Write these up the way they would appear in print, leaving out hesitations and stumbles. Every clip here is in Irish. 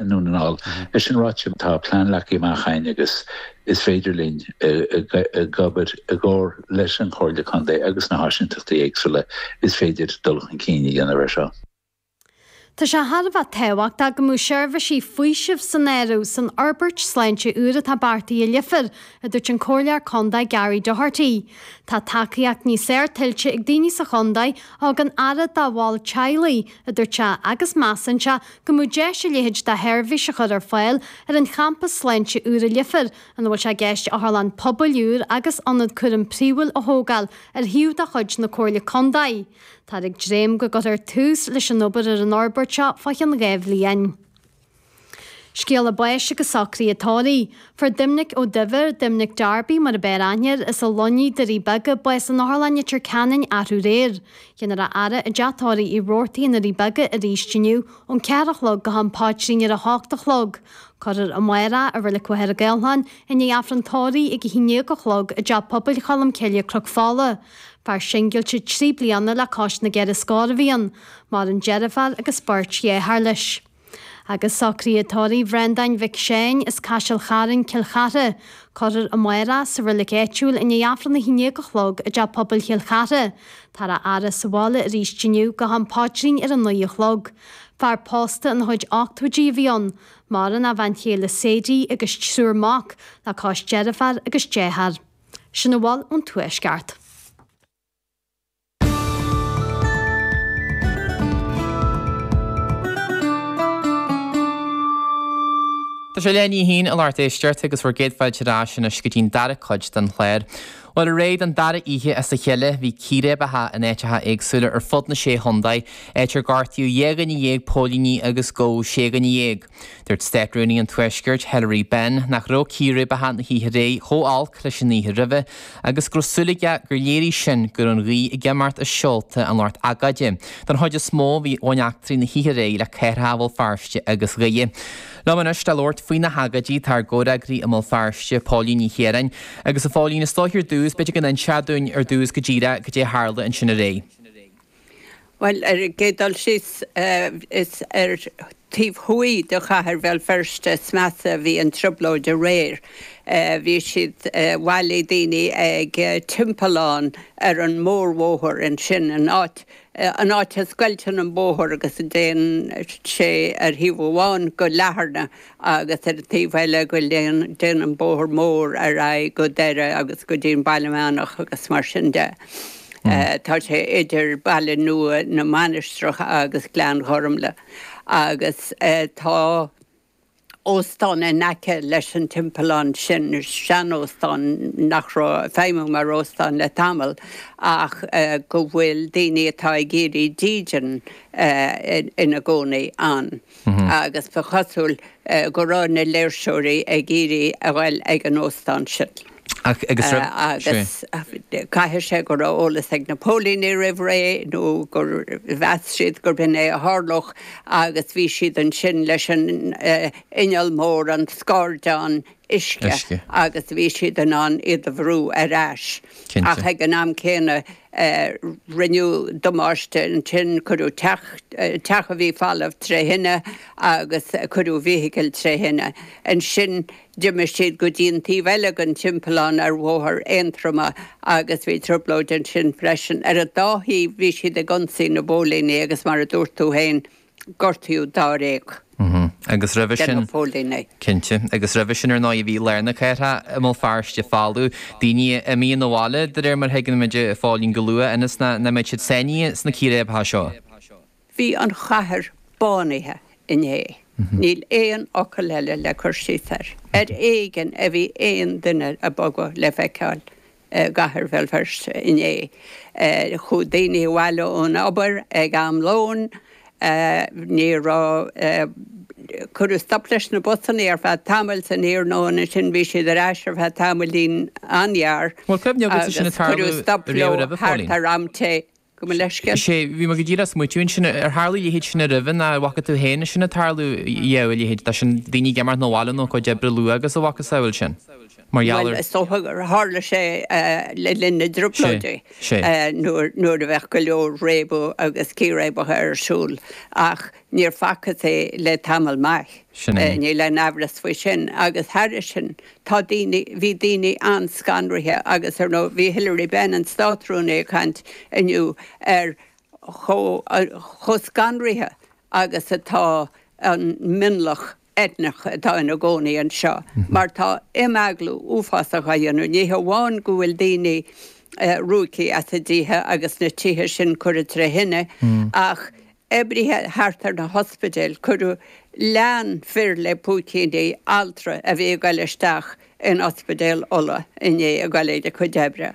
i nDún na nGall. É sin ráite, tá plean leagtha amach againn agus is féidir linn ag obair i gcomhar leis an Chomhairle Contae agus na háisíntachtaí éagsúla is féidir dul chun cinn a dhéanamh ar seo. Tá sé thar a bheith tábhachtach go mbeadh seirbhísí faoisimh san áireamh san fhorbairt sláinte úr atá beartaithe i Leifear, a dúirt an Comhairleoir Contae Gary Doherty. Tá tacaíocht níos fearr tuillte ag daoine sa chontae a thugann aire dá bhaill teaghlaigh, a dúirt sé, agus measann sé go mbeadh deis a leithéid de sheirbhís a chur ar fáil ar an champas sláinte úr i Leifear, ina bhfuil sé i gceist otharlann pobail úr agus ionad cúraim príomhúil a thógáil ar shuíomh de chuid na Comhairle Contae. Táthar ag dréim go gcuirfear tús leis an obair ar an fhorbairt seo fá cheann 2 bhliain. Scéala báis agus socruithe tórraimh. Fuair Doimnic Ó Duibhir, Doimnic Darby mar a b'fhearr aithne air, as na Luiní, Doirí Beaga, bás in Otharlann Leitir Ceanainn arú aréir. Déanfar a fhaire i dteach tórraimh Uí Robhartaigh i nDoirí Beaga arís inniu ón 4 a chlog go ham paidrín ar a hocht a chlog. Cuirfear amárach i Reilig Mhachaire Gathlán i ndiaidh Aifreann tórraimh ag a 11 a chlog i dTeach Pobail Cholm Cille, Cnoc Fola. Fear singilte 3 bliana le cois na gceithre scór a bhí ann. Maireann deirfiúr agus beirt dheartháir leis. Agus socruithe tórraimh Bhreandáin Mhic Seáin as Caiseal Chairn, Cill Chartha. Cuirfear amárach sa reilig áitiúil i ndiaidh Aifreann a 11 a chlog i dTeach Pobail Chill Chartha. Táthar á fhaire sa bhaile arís inniu go ham paidrín ar a 9 a chlog. Fear pósta ina chuid ochtóidí a bhí ann. Maireann a bhean chéile Sadie agus triúr mac le cois deirfiúr agus dearthár. Sin a bhfuil ón Tuaisceart. Tá sé leath i ndiaidh a haon a lucht éisteachta agus bhur gcéad fáilte ar ais anois go dtí'n dara cuid den chlár. Bhuel aréir don dara oíche as a chéile bhí círéibeacha in áiteacha éagsúla ar fud na sé chontae, áit ar gortaíodh 12 dhuine póilíní agus gabhadh 16 dhuine. Dúirt Státrúnaí an Tuaiscirt, Hilary Benn, nach raibh círéibeacha na hoíche aréir chomh holc leis an oíche roimhe agus go raibh súil aige gur léirigh sin go raibh an ghaoth ag imeacht as seolta an lucht agóide. Don chuid is mó bhí bhain eachtraí na hoíche aréir le cathracha Bhéal Feirste agus Dhoire. Liom anois le labhairt faoi na hagóidí tá ár gcomhfhreagraí i mBéal Feirste, Póilín Ní Chiaráin. Agus a Phóilín, is dóiche ar dtús, b'fhéidir go n-inseofá dúinn ar dtús go díreach cad é a tharla ansin aréir. Bhuel, ar an gcéad dul síos, is ar taobh thuaidh de chathair Bhéal Feirste is measa a bhí an trioblóid aréir. Bhí siad, bhailigh daoine ag timpeallán ar an mórbhóthar ansin, an áit, an áit a scoilteann an bóthar agus a dtéann sé ar thaobh amháin go Latharna agus ar an taobh eile go dtéann an bóthar mór ar aghaidh go Doire agus go dtí an Baile Meánach agus mar sin de. Tá sé idir Baile Nua na Mainistreach agus Gleann Ghormlaith agus tá óstán in aice leis an timpeallán sin, seanóstán nach raibh ag feidhmiú mar óstán le tamall ach go bhfuil daoine atá ag iarraidh dídean ina gcónaí ann. Agus ba chosúil go raibh na léirseoirí ag iarraidh a ghoil ag an óstán sin. Agus Agus caithfidh sé go raibh eolas ag na póilíní roimh ré nó gur mheas siad gurb in é a tharlódh agus bhí siad ansin leis an inneall mór, an scairdeán uisce, agus bhí siad in ann iad a bhrú ar ais. Ach ag an am céanna rinneadh damáiste ansin, cuireadh teach, teach a bhí folamh tré thine agus cuireadh vehicle tré thine. Ansin d'imigh siad go dtí an taobh eile den timpeallán ar Bhóthar Aontroma agus bhí trioblóid ansin freisin. Ar an dá thaobh bhí siad ag ionsaí na bpóilíní agus mar a dúirt tú féin, gortaíodh dáréag Agus roimhe de na sin, póilíní. cinnte, agus roimhe sin ar ndóigh bhí lár na cathrach i mBéal Feirste folamh, daoine imithe 'na bhaile de réir mar a thuigimid a Phóilín go luath ionas nach mbeadh siad sáinnithe sna círéibeacha seo. Bhí an chathair bánaithe inné. Níl aon fhocal eile le cur síos air. Ar éigean a bhí aon duine ag bogadh le feiceáil. i gcathair Bhéal Feirste inné. Chuaigh daoine abhaile ón obair ag am lóin. Ní raibh, cuireadh stop leis na busanna ar feadh tamaill san iarnóin, ansin bhí siad ar ais ar feadh tamaillín an-ghearr Bhfuil cuimhne agat sin agus cuireadh stop leo thart ar am tae. Gabh mo leithscéal. Sea, bhí mé go díreach ag smaoitiú ansin, ar tharla a leithéid sin roimhe nó ar bhfaca tú féin sin ag tarlú riamh, a leithéid de sin, daoine ag imeacht 'na bhaile nó a gcuid oibre luath agus a mhacasamhail sin? Mar gheall ar. Bhuel, is dócha gur tharla sé le linn na dTrioblóidí, nuair a bheadh go leor réabadh agus círéibeacha ar siúl, ach níor facthas é le tamall maith. Sin é. Níl aon amhras faoi sin. Agus thairis sin, tá daoine, bhí daoine an-scanraithe agus ar ndóigh bhí Hilary Benn, an Státrúnaí, ag caint inniu ar chomh, chomh scanraithe agus atá an mionlach eitneach atá ina gcónaí anseo mar tá imeaglú uafásach á dhéanamh. Ní hamháin go bhfuil daoine ruaigthe as a dtithe agus na tithe sin curtha tré thine ach oibrithe thart ar na hospidéil, cuireadh, lean fir le púicíní altra a bhí ag goil isteach in Ospidéal Uladh inné ag goil ag a cuid oibre.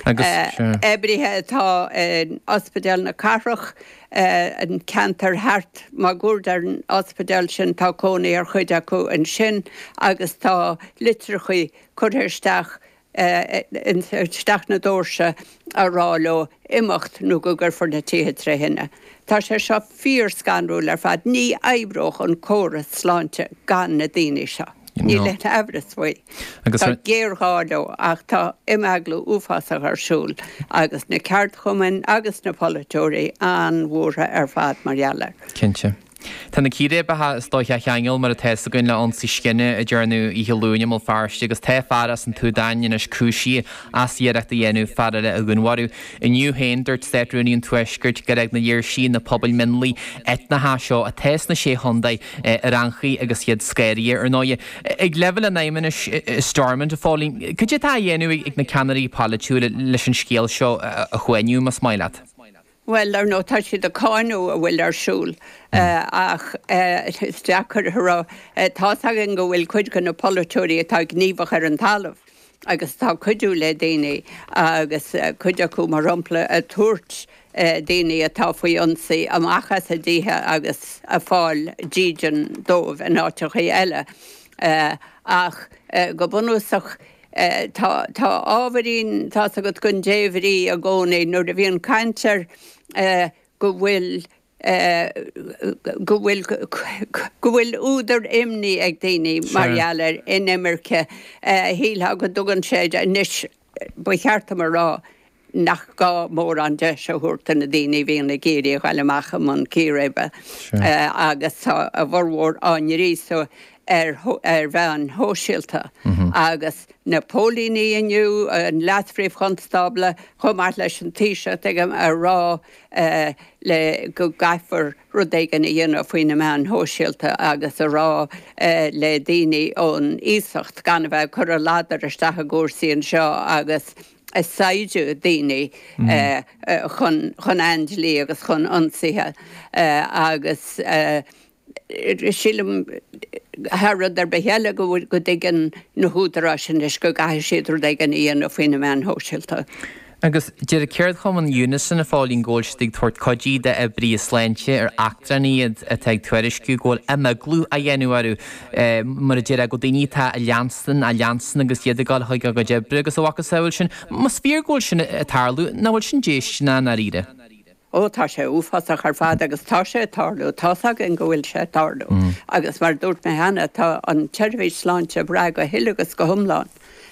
Oibrithe atá in Ospidéal na Cathrach, an ceantar thart máguaird ar an ospidéal sin, tá cónaí ar chuid acu ansin agus tá litreachaí curtha isteach isteach na doirse á rá leo imeacht nó go gcuirfear na tithe tré thine. Tá sé seo fíor-scanrúil ar fad. Ní oibreodh an córas sláinte gan na daoine seo. Níl aon amhras faoi. Tá géarghá leo ach tá imeaglú uafásach ar siúl agus na ceardchumainn agus na polaiteoirí an-bhuartha ar fad mar gheall air. Cinnte. Tá na círéibeacha is dóiche á cheangal, mar atá fhios againn, le ionsaí scine a dearnadh oíche Luain i mBéal Feirste agus tá fear as an tSúdáin anois cúisithe as iarracht a dhéanamh fear eile a dhúnmharú. Inniu féin, dúirt Státrúnaí an Tuaiscirt gur fhág na léirsithe na pobail mionlaigh eitneacha seo atá sna Sé Chontae ar anchaoi agus iad scanraithe, ar ndóighe. Ag leibhéal an Fheidhmeannais i Stormont, a Phóilín, cad é atá á dhéanamh ag na ceannairí polaitiúla leis an scéal seo a shuaimhniú, más maith leat? Bhuel, ar ndóigh, tá siad ag cáineadh a bhfuil ar siúl ach is deacair a rá. Tá's againn go bhfuil cuid de na polaiteoirí atá gníomhach ar an talamh agus atá ag cuidiú le daoine agus cuid acu, mar shampla, ag tabhairt daoine atá faoi ionsaí amach as a dtithe agus ag fáil dídean dóibh in áiteachaí eile. Ach go bunúsach, Tá ábhairín, tá's agat, den débhrí i gcónaí nuair a bhíonn caint ar go bhfuil, go bhfuil, go bhfuil údar imní ag daoine mar gheall ar inimirce. Shílfeá go dtugann sé, anois ba cheart dom a rá, nach gá mórán deis a thabhairt do na daoine a bhíonn ag iarraidh a ghoil amach i mbun círéibe agus tá a bhformhór á ngríosadh ar ar mheáin shóisialta agus na póilíní inniu, an Leas-Phríomh-Chonstábla chomh maith leis an Taoiseach, tuigim, a rá le go gcaithfear rud éigin a dhéanamh faoi na meáin shóisialta agus a rá le daoine ón iasacht gan a bheith ag cur a ladar isteach i gcúrsaí anseo agus ag saighdeadh daoine chun aindlí agus chun ionsaithe agus sílim thar rud ar bith eile go dtuigeann na húdaráis anois go gcaithfidh siad rud éigin a dhéanamh faoi na meáin shóisialta. Agus deir ceardchumann Unison, a Phóilín, go bhfuil siad ag tabhairt cuidí d'oibrithe sláinte ar eachtránaigh iad atá ag tuairisciú go bhfuil imeaglú á dhéanamh orthu, mar a déarfá, go daoine atá á leanstan, á leanstan agus iad ag dul chuig a gcuid oibre agus a mhacasamhail sin. Más fíor go bhfuil sin ag tarlú, nach bhfuil sin déistineach i ndáiríre? Ó, tá sé uafásach ar fad agus tá sé ag tarlú, tá's againn go bhfuil sé ag tarlú agus mar a dúirt mé cheana, tá an tseirbhís sláinte ag brath go huile agus go hiomlán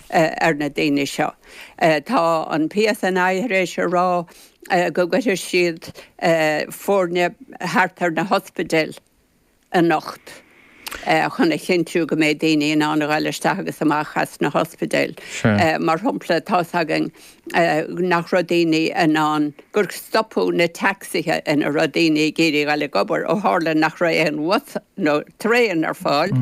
ar na daoine seo. Tá an PSNI tar éis a rá go gcuirfidh siad foirne thart ar na hospidéil anocht chun a chinntiú go mbeidh daoine in ann a ghoil isteach agus amach as na hospidéil. Mar shampla, tá's againn nach raibh daoine in ann, gur stopadh na tacsaithe ina raibh daoine ag iarraidh a ghoil ag obair ó tharla nach raibh aon bhus nó traein ar fáil.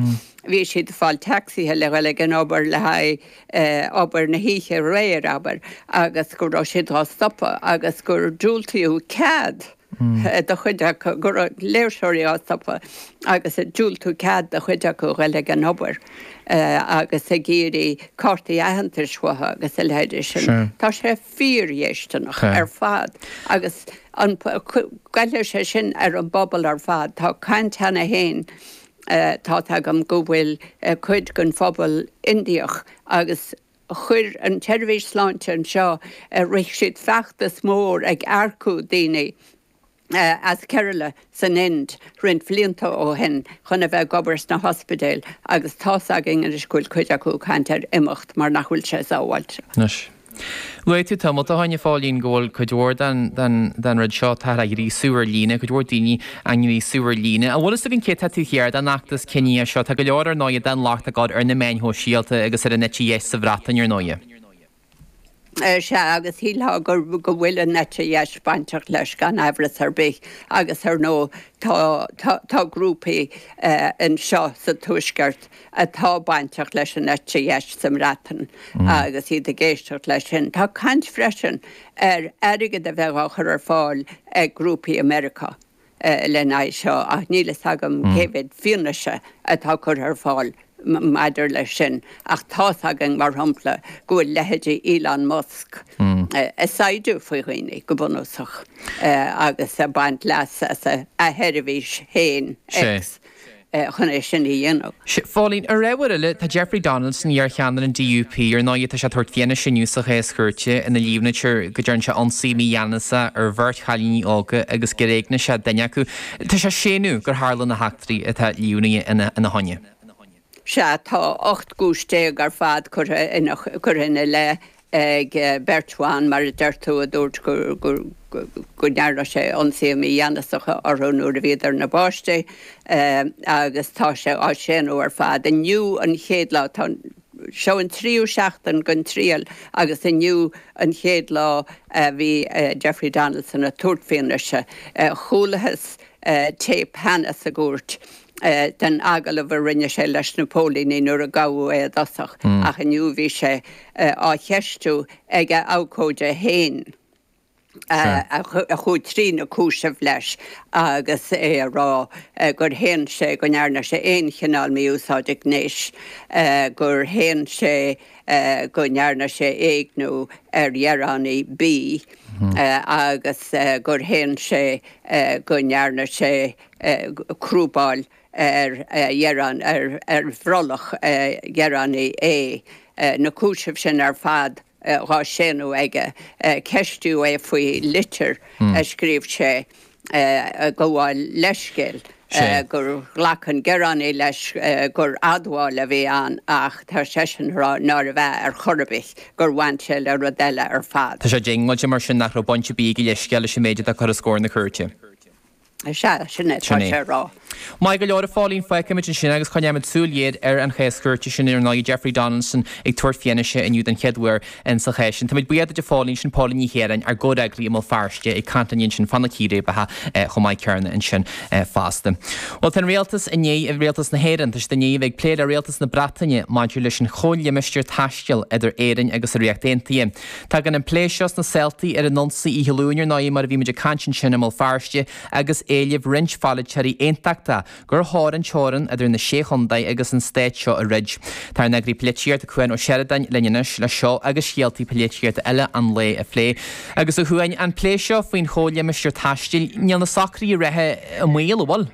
Bhí siad ag fáil tacsaithe le ghoil ag an obair le haghaidh obair na hoíche aréir, abair, agus go raibh siad á stopadh agus gur diúltaíodh cead do chuid acu, go raibh léirseoirí á stopadh agus ag diúltú cead do chuid acu a ghoil ag an obair agus ag iarraidh cártaí aitheantais uathu agus a leithéidí sin. Tá sé fíordhéisteanach ar fad agus an goillfidh sé sin ar an bpobal ar fad. Tá caint cheana féin, tá's agam go bhfuil cuid den phobal Indiach agus Chuir an tseirbhís sláinte anseo, rith siad feachtas mór ag earcú daoine as Kerala san Ind roinnt bhlianta ó shin chun a bheith ag obair sna hospidéil agus tá's againn anois go bhfuil cuid acu ag caint ar imeacht mar nach bhfuil sé sábháilte. Anois. Luaigh tú tamalt ó shin, a Phóilín, go bhfuil cuid mhór den rud seo, táthar á ghríosú ar líne, cuid mhór daoine á ngríosú ar líne. An bhfuil fhios againn cé atá taobh thiar den fheachtas ciníoch seo? Tá go leor, ar ndóighe, den locht ag gabháil ar na meáin shóisialta agus ar an eite dheis sa Bhreatain, ar ndóighe. Sea, agus shílfeá go bhfuil an eite dheis bainteach leis gan aimhreas ar bith agus ar ndóigh tá, tá grúpaí anseo sa Tuaisceart atá bainteach leis an eite dheis sa mBreatain agus iad ag éisteacht leis sin. Tá caint freisin ar airgead a bheith á chur ar fáil ag grúpaí i Meiriceá. lena aghaidh seo ach níl fhios agam cé mhéad fianaise atá curtha ar fáil maidir leis sin ach tá's againn, mar shampla, go bhfuil leithéidí Elon Musk ag saighdeadh faoi dhaoine, go bunúsach, agus ag baint leas as a sheirbhís féin, X. chun é sin a dhéanamh. Sea, a Phóilín, ar ábhar eile, tá Jeffrey Donaldson, iar-cheannaire an DUP, ar ndóigh, tá sé ag tabhairt fianaise inniu sa chás cúirte ina líomhnaítear go dtearn sé ionsaí mígheanasach ar bheirt chailíní óga agus gur éignigh sé duine acu. Tá sé ag séanadh gur tharla na heachtraí atá líomhnaithe ina choinne. Sea, tá 18 gcúis ar fad curtha ina leith ag beirt bhan, mar a deir tú, a dúirt go ndearna sé ionsaithe mígheanasacha orthu nuair a bhíodar ina bpáistí agus tá sé á séanadh ar fad. Inniu an chéad lá, tá, seo an tríú seachtain den triail agus inniu an chéad lá a bhí Jeffrey Donaldson ag tabhairt fianaise. Chualathas téip cheana sa gcúirt den agallamh a rinne sé leis na póilíní nuair a gabhadh é i dtosach ach inniu bhí sé á cheistiú ag a abhcóide féin a chuaigh trí na cúisimh leis agus é ag rá gur shéan sé go ndearna sé aon chineál mí-úsáide gnéis, gur shéan sé go ndearna sé éigniú ar ghearánaí B agus gur shéan sé go ndearna sé crúbáil ar ghearán, ar bhrollach ghearánaí A. Na cúisimh sin ar fad dhá séanadh aige. Ceistíodh é faoi litir a scríobh sé ag gabháil leithscéil gur ghlac an gearánaí leis gur admháil a bhí ann ach tá seisean ag rá nárbh ea ar chor ar bith, gur bhain sé le rud eile ar fad. Tá sé diongbháilte mar sin nach raibh baint ar bith ag a leithscéal leis an méid atá curtha os comhair na cúirte. Sea, sin é atá sé a rá. Maith go leor, a Phóilín, fágfaimid ansin agus coinneoimid súil ghéar ar an chás cúirte sin, ar ndóigh, Jeffrey Donaldson ag tabhairt fianaise inniu den chéad uair insa chás sin. Táimid buíoch duit, a Phóilín, sin Póilín Ní Chiaráin, ár gcomhfhreagraí i mBéal Feirste, ag caint linn ansin fá na círéibeacha chomh maith céanna ansin fosta. Bhuel, tá an rialtas i ndiaidh, rialtas na hÉireann, tá siad i ndiaidh a bheith ag plé le rialtas na Breataine maidir leis an chomhlimistéar taistil idir Éirinn agus an Ríocht Aontaithe. Tagann an plé seo sna saoltaí ar an ionsaí oíche Luain, ar ndóigh, mar a bhí muid ag caint ansin i mBéal Feirste agus éileamh roinnt pholaiteoirí aontachtach gur chóir an teorann idir na Sé Chontae agus an stát seo a throid. Tá ár n-eagraí polaitíochta Cuan Ó Seireadáin linn anois le seo agus scéaltaí polaitíochta eile an lae a phlé. Agus a Chuain, an plé seo faoin chomhlimistéar taistil, níl na socruithe reatha i mbaol, an bhfuil?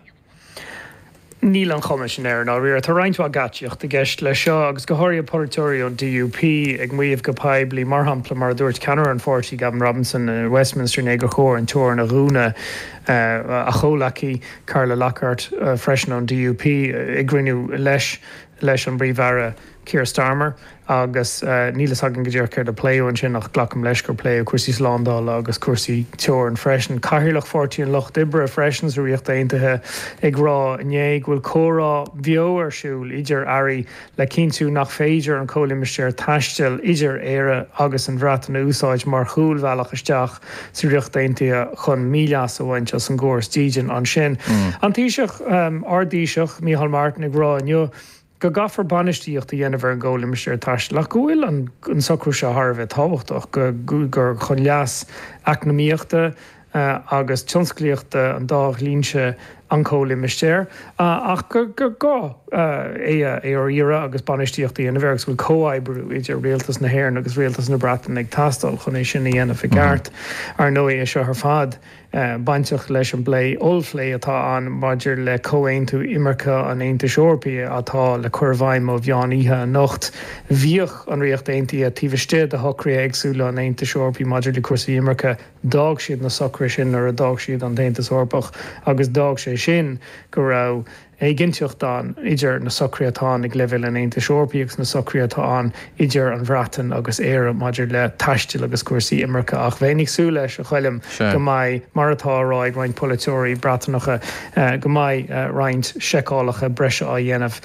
Níl an chuma sin air, i ndáiríre. Tá roinnt mhaith geáitsíochta i gceist leis seo, agus go háirithe polaiteoirí ón DUP ag maíomh go poiblí, mar shampla, mar a dúirt ceannaire an pháirtí, Gavin Robinson, i Westminster inné gur chóir an teorainn a dhúnadh. A chomhleacaí, Carla Lockhart, freisin ón DUP, i gcruinniú leis leis an bPríomh-Aire, Keir Starmer, agus níl fhios againn go díreach céard a pléadh ansin ach glacaim leis gur pléadh cúrsaí slándála agus cúrsaí teorann freisin. Cathaoirleach Pháirtí an Lucht Oibre freisin sa Ríocht Aontaithe ag rá inné go bhfuil comhrá beo ar siúl idir airí le cinntiú nach féidir an comhlimistéar taistil idir Éire agus an Bhreatain a úsáid mar chúlbhealach isteach sa Ríocht Aontaithe chun míleas a bhaint as an gcóras dídean ansin. An Taoiseach, ár dTaoiseach, Micheál Martin ag rá inniu go gcaithfear bainistíocht a dhéanamh ar an gcomhlimistéar taistil ach go bhfuil an socrú seo thar a bheith tábhachtach, gur chun leas eacnamaíochta agus tionsclaíochta an dá dhlínse an comhlimistéar ach gur gá é a riaradh agus bainistíocht a dhéanamh air agus go bhfuil comhoibriú idir rialtas na hÉireann agus rialtas na Breataine ag teastáil chun é sin a dhéanamh i gceart. Ar ndóigh, é seo ar fad. bainteach leis an bplé, ollphlé atá ann maidir le comhaontú imirce an Aontais Eorpaigh atá le cur i bhfeidhm ó mheán oíche anocht. Bhíodh an Ríocht Aontaithe taobh istigh de shocruithe éagsúla an Aontais Eorpaigh maidir le cúrsaí imirce. D'fhág siad na socruithe sin nuair a d'fhág siad an tAontas Eorpach agus d'fhág sé. sin go raibh éiginnteacht ann idir na socruithe atá ann ag leibhéal an Aontais Eorpaigh agus na socruithe atá ann idir an Bhreatain agus Éire maidir le taisteal agus cúrsaí imirce. Ach bheinn ag súil leis, a Choilm, go mbeidh, mar atá á rá ag roinnt polaiteoirí Breatanacha, go mbeidh roinnt seiceálacha breise á dhéanamh.